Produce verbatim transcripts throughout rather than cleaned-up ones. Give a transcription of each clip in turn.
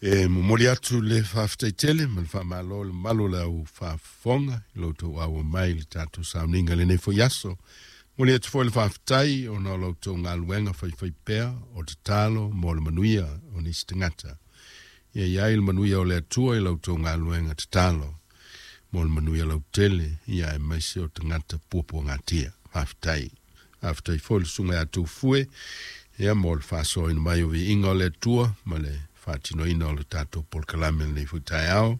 E momoli atu le faafetai tele ma le faamalo le mamalu o le au faafofoga i lo outou auai mai le tatou sauniga lenei foi aso. Momoli atu foi le faafetai ona o la outou galuega faifaipea o tatalo mo le manuia o nisi tagata. Ia i ai le manuia o le Atua i la outou galuega tatalo mo le manuia lautele, ia aemaise o tagata puapuagatia. Faafetai. Faafetai foi le susuga ia Tufue, ia mo le faasoaina mai o viiga o le Atua ma le faatinoina o le tatou polokalame lenei foi taeao.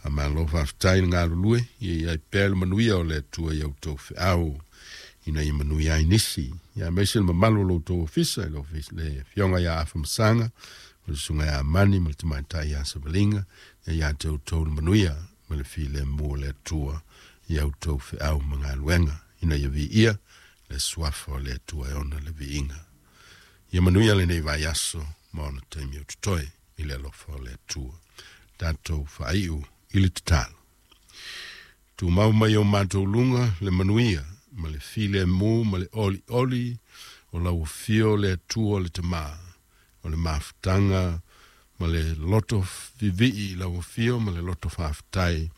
Faamalo faafetai le galulue, ia i ai pea le manuia o le Atua i outou feau ina ia manuia ai nisi. Ia aemaise le mamalu o lo outou ofisa, le ofisa le afioga ia Afamasaga, o le susuga ia Mani ma le tamaitai ia Savaliga, ia ia te outou le manuia ma le filemu o le Atua i outou feau ma galuega, ina ia viia le suafa o le Atua e ona le viiga. Ia manuia lenei vaiaso ma ona taimi o totoe i le alofa o le Atua. Tatou faaiu i le tatalo. Tumau mai o matou luga le manuia ma le filemu ma le olioli o lau afio le Atua le Tamā, o le mafutaga ma le loto vivii i lau afio ma le loto faafetai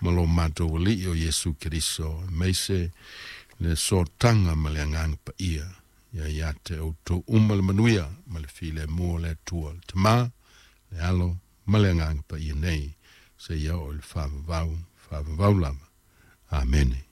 ma lo matou Alii o Iesu Keriso, aemaise le sootaga ma le Agaga Paia. Ia ia te outou uma le manuia ma le filemu o le Atua, le Tamā, le Alo ma le Agaga Paia nei, seia oo i le faavavau, faavavau lava. Amene.